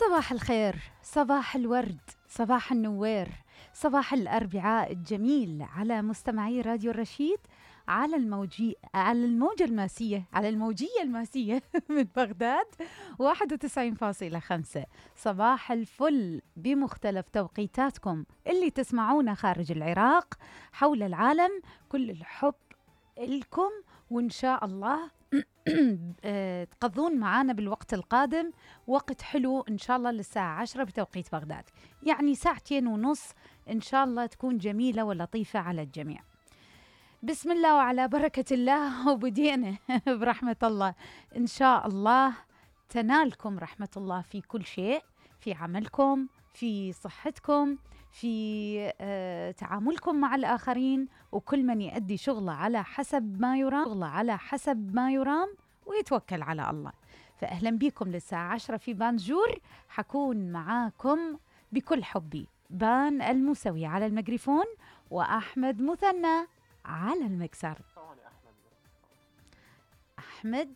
صباح الخير، صباح الورد، صباح النوير، صباح الأربعاء الجميل على مستمعي راديو الرشيد على الموجية الماسية من بغداد 91.5. صباح الفل بمختلف توقيتاتكم اللي تسمعونا خارج العراق، حول العالم. كل الحب لكم، وإن شاء الله تقضون معانا بالوقت القادم وقت حلو إن شاء الله للساعة 10 بتوقيت بغداد، يعني 2.5 ساعة إن شاء الله تكون جميلة ولطيفة على الجميع. بسم الله وعلى بركة الله، وبدينا برحمة الله. إن شاء الله تنالكم رحمة الله في كل شيء، في عملكم، في صحتكم، في تعاملكم مع الآخرين، وكل من يؤدي شغله على حسب ما يرام ويتوكل على الله. فأهلا بكم للساعة 10 في بانجور، حكون معاكم بكل حبي. بان الموسوي على الميكروفون، وأحمد مثنى على المكسر. أحمد